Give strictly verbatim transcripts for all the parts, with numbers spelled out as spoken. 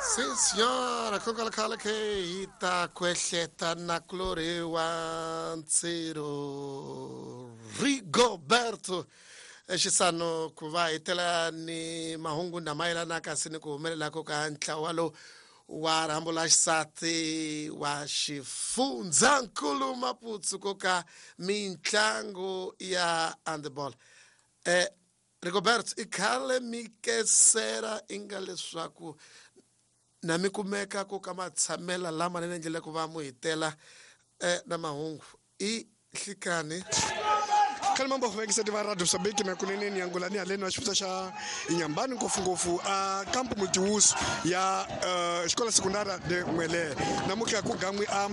Sim senhora, kokwalakhale ke hi ta kwehleta na kulori wa Ntsiro Rigoberto Xisano ku va hi tela ni mahungu na mayelana kasi ni ku humelelako ka ntlawa lowu wa rhambo la xisati wa xifundzankulu Maputo ko ka mitlangu ya handball. Eh Rigoberto, i khale mi kesera inga leswaku na mi kumeka ku ka matshamela lama ni endlele ku va mu hitela eh, na mahungu i hlikani. Khale mambo vekiseti va radio Mozambique na kuneneni yangulani haleni wa xifundza xa Inhambane, ngopfungopfu a campo multiuso ya uh, Escola Secundária de Muelé. Namuntlha ku gan'wi a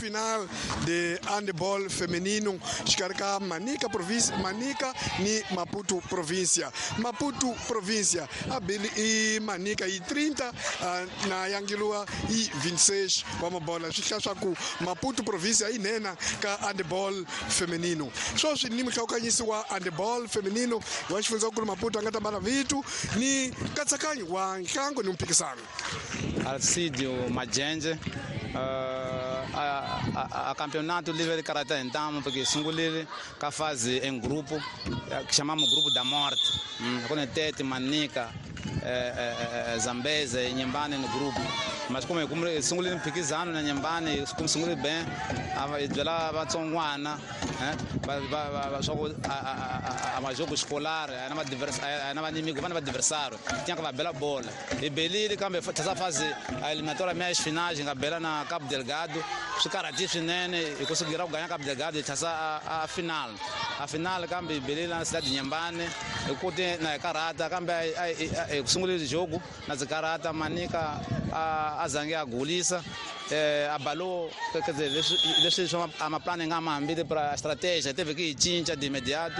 final de handball feminino xikarhi ka Manica province, Manica ni Maputo provincia. Maputo provincia a bili i Manica hi trinta, uh, na yangiliwa hi vinte e seis wa mabola. Swi hlaya swa ku Maputo provincia yi nena ka handball feminino. Swoswi ni muhlawukanyisi wa handball feminino wa xifundzankulu Maputo a nga ta bala vitu ni nkatsakanyo wa ntlangu ni mphikisano. Alcidio Majenje. uh, a, a, a campeonato livre de caráter então, porque sungulile ka fase em grupo que chamamos grupo da morte, hum, com Tete, Manica, eh, eh, Zambeze e Inhambane no grupo. Mas como como sungulile mphikizano na Inhambane, como sungulile bem, a byela vatsongwana eh va va va swa ku a a majogo escolar a na a na inimigo, va na adversário, tinha que va bela bola. E belile kambe essa fase a eliminatória, meias finais, nga bela na Cabo Delgado. Swi karhati swinene hi kusugira ku ganya Cabo Delgado hi tlhasa a, a final a final kambe hi belile na cidade Inhambane hi kuti na hi karhata, kambe hi ku sungulile jogo na ndzi karhata. Manica a, a zange a gulisa, eh, abalou, quer dizer, leswi leswi swa amaplano nga ma hambile para estratégia teve que cinca de imediato.